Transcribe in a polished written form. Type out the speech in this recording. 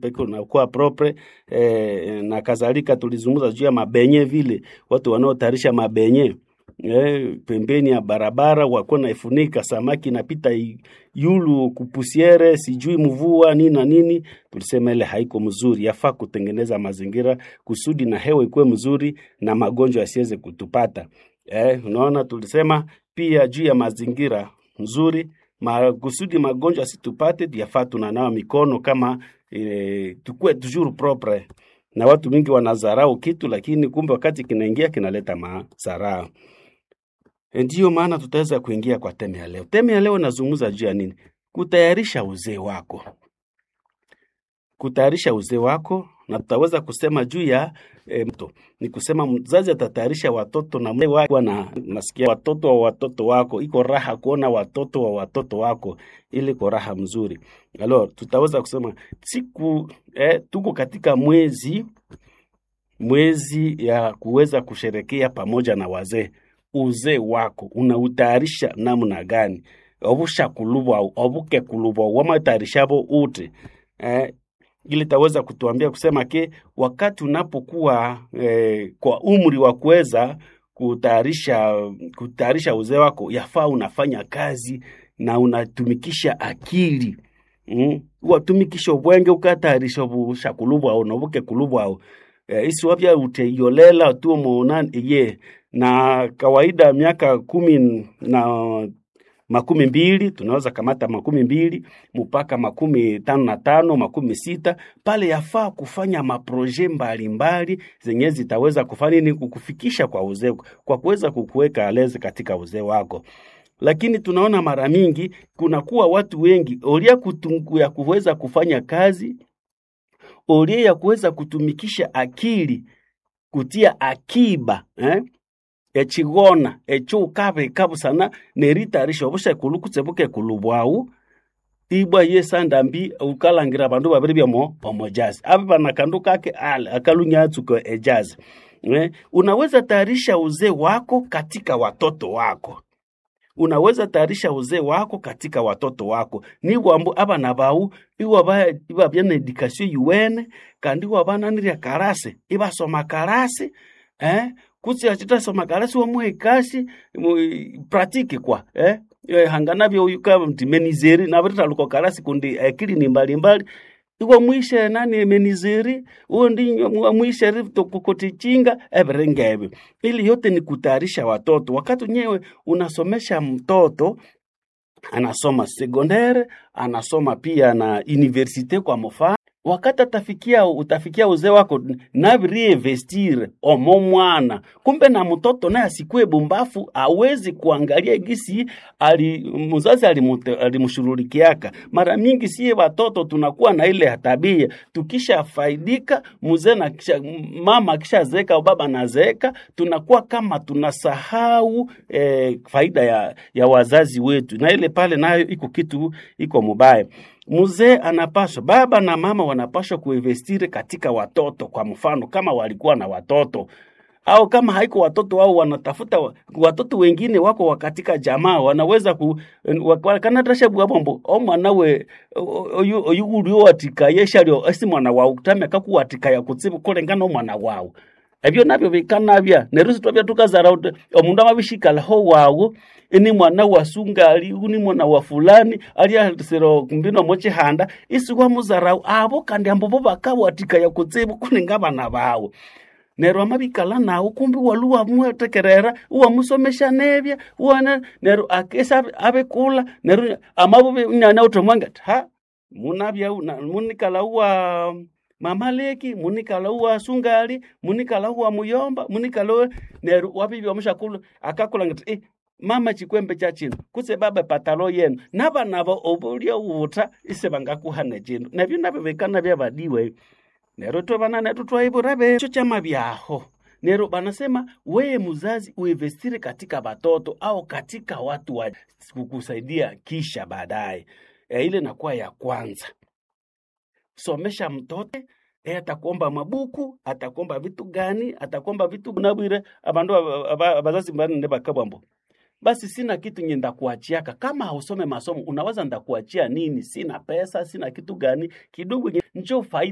Peke unakuwa propre na kadhalika. Tulizungumza juu ya mabenye vile watu wanaotayarisha mabenye pembeni ya barabara wakuwa naifunika, samaki inapita yulu kupusiere, sijui mvua nini na nini. Tulisema ile haiko mzuri, yafaa kutengeneza mazingira kusudi na hewa ikuwe mzuri na magonjwa yasiweze kutupata. Unaona, tulisema pia juu ya mazingira nzuri kusudi magonjwa asitupate, yafaa tunanawa mikono kama tukue toujours propre. Na watu mingi wanadharau kitu, lakini kumbe wakati kinaingia kinaleta madhara. Ndiyo maana tutaweza kuingia kwa theme ya leo. Theme ya leo nazungumza juu ya nini? Kutayarisha uzee wako, kutayarisha uzee wako, na tutaweza kusema juu ya mto. Ni kusema mzazi atatayarisha watoto na mzee wako na nasikia watoto wa watoto wako, iko raha kuona watoto wa watoto wako, ili iko raha mzuri. Alors tutaweza kusema siku tuko katika mwezi ya kuweza kusherekea pamoja na wazee. Uzee wako unautayarisha namna gani? Obushakulubwa obukekulubwa wamatarishabo ute ili taweza kutuambia kusema ke wakati unapokuwa kwa umri wa kuweza kutayarisha uzee wako, yafaa unafanya kazi na unatumikisha akili watumikisha obwenge ukatayarisha obushakulubwao nobukekulubwao isiwavya uteyolela tu muonani iye na kawaida miaka 10 na 20 tunaweza kamata 20 mpaka 55 60 pale, yafaa kufanya maproje mbalimbali zenye zitaweza kufanya nini kukufikisha kwa uzee, kwa kuweza kukuweka aleze katika uzee wako. Lakini tunaona mara mingi kunakuwa watu wengi olia kutungu ya kuweza kufanya kazi, olia ya kuweza kutumikisha akili kutia akiba echigona echo ukabika busana neritayarisha obushekulu kutse bukekulu bwawu ibwa yesandambi ukalangira abandu babiri byamo omojazi abe bana kandu kake ale akalunyatsuko ejazi Unaweza tayarisha uzee wako katika watoto wako, unaweza tayarisha uzee wako katika watoto wako niwambu abana bawu iwabya na education yuwene kandi iwabananirya karasi ibasoma karasi kutse achitasoma karasi wamuha ekasi pratique kwa hanganabya uyuka mti menizeri nabiritaluka karasi kundi akili ni mbalimbali iwamwishe nani menizeri undi wamwishe kutichinga ebiringa ebyo. Ili yote ni kutayarisha watoto. Wakati nyewe unasomesha mtoto anasoma secondaire, anasoma pia na universite kwa mfano, wakati atafikia utafikia uzee wako nabiriinvestire omo mwana, kumbe na mtoto naye asikue bumbafu, awezi kuangalia gisi ali mzazi alimshurulikiaka. Mara mingi siye watoto tunakuwa na ile tabia, tukishafaidika mzee na kisha, mama akishazeeka au baba anazeeka, tunakuwa kama tunasahau faida ya wazazi wetu, na ile pale nayo iko kitu iko mubaya. Mzee anapaswa, baba na mama wanapaswa kuinvestiri katika watoto. Kwa mfano kama walikuwa na watoto au kama haiko watoto wao, wanatafuta watoto wengine wako katika jamaa, wanaweza ku kanatasha bwabombo omwana we oyu oyu watikaya esi mwana wawu tame kakuwatikaya kutsibu kulengana omwana wawu ebyo nabyo bikanabya neryo sitwabya tukazara uti omundu amabishikalaho wawu ini mwana wa sungali uni mwana wa fulani aliasira kumbino mochihanda isi wamuzarau abo kandi ambo bo bakawatikaya kutsibu kuninga bana bawu neryo amabikala nawu kumbi walu wamwetekerera uwamusomesha nebya uwana neryo akesa abikula neryo amabubi nyana utomwanga ha munabya munikala uwa mama leki munikala uwa sungali munikala uwa muyomba munikala uwa neryo wabibya omushakulu akakula ngati mama chikwembe cha chino kutse baba patalo yenu nabana bo obulya ubuta ise bangakuhana chino nabyo nabyo bikana byabadiwe neryo twebana netu twaibura becho chama byaho Nero banasema wewe mzazi uinvestire katika watoto au katika watu wa kukusaidia kisha baadaye. Ile nakuwa ya kwanza. Somesha mtoto atakuomba mabuku, atakuomba vitu gani, atakuomba vitu nabwire abandu abazazi mbane bakabwambo. Basi sina kitu nye ndakuachiaka. Kama hausome masomo unaweza ndakuachia nini? Sina pesa, sina kitu gani kidogo, njo faida.